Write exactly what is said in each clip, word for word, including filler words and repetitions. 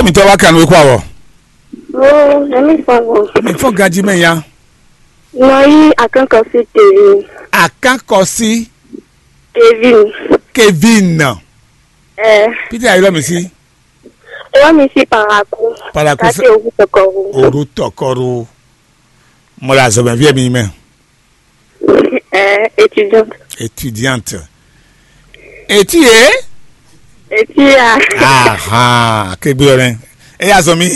Mitɔ wá kan nú kó awɔ. Oh, èmi fɔn gbɔn. Mi fɔ ganji mɛ ya. Nɔ yí akɔnkɔsi Kevin. Akɔnkɔsi Kevin. Kevin. Ɛ. Peter ayɔlɔ mi si. Wọ́n mi sí Parakou. Parakou láti fẹ́- Ògùn Tọkọ̀rú. Òru tɔkɔrú. Mo la zɔmɛ viɛ mi mɛ. Ɛ, étudiante. Étudiante. Eti ye? Eti ya. Ahan, kegbe yɔ nɛ. E ya zɔn mi.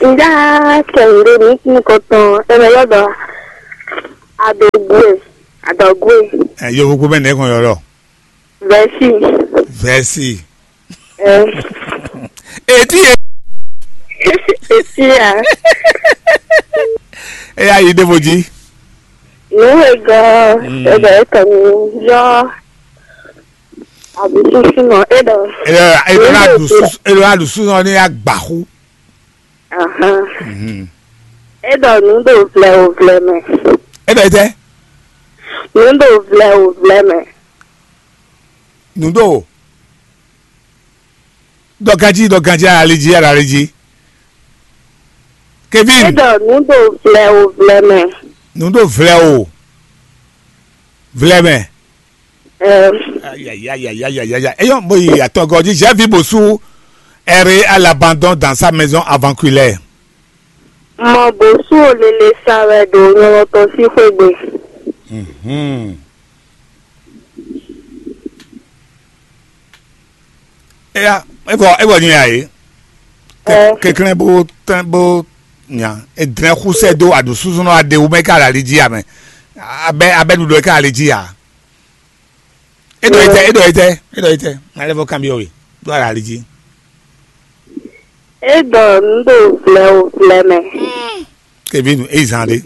Nda kɛnde mi tún kɔtɔn. Eme yɔ dɔ. Adogwe. Adogwe. Ɛ, yovo ko bɛ nɛ kɔn yɔ lɔ. Vɛsi. Vɛsi. Ɛ. Eti ye? Eti ya. E ya yi ɖevo jí. Nǔ e gɔ Mm. e ɖɔ e kɔ mi yɔ aɖǔsúsú nɔ e ɖɔ. E ɖɔ e ɖɔ na ɖu susu, e ɖɔ na ɖu susu nɔ ní agbaxu. Ahan. Mhm. E ɖɔ nǔ ɖo vlɛ o vlɛ mɛ. E ɖɔ e tɛ? Nǔ ɖo vlɛ o vlɛ mɛ. Nǔ ɖo. Ɖɔ ganjí, ɖɔ ganjí, ali jí, ali jí. Kevin. E ɖɔ nǔ ɖo vlɛ o vlɛ mɛ. Nǔ ɖo vlɛ o. Vlɛ mɛ. Ɛ. Ayayayayayaya. Eyɔn mo yi atɔgɔ jí, j'ai vu Bosu errer à l'abandon dans sa maison avant qu'il ait. Mɔ Bosu o lele sa wɛ ɖo nyɔlɔ tɔn sín xwé gbe. Mhm. Eya, evɔ evɔ nyɛ ya yě. Ɛ. Keklɛn bó tɛn bó nya. Edrɛn xusɛ dó aɖu súsúnú aɖe wú mɛ ká ali jí amɛ. Abɛ abɛ ɖuɖu ká ali jí a. Edɔ itɛ, edɔ itɛ, edɔ itɛ. Malɛ fɔ kan bi ɔwe. Dó ali jí. E ɖɔ nǔ ɖo vlɛ o vlɛ mɛ. Kevin, eyi zan ɖe.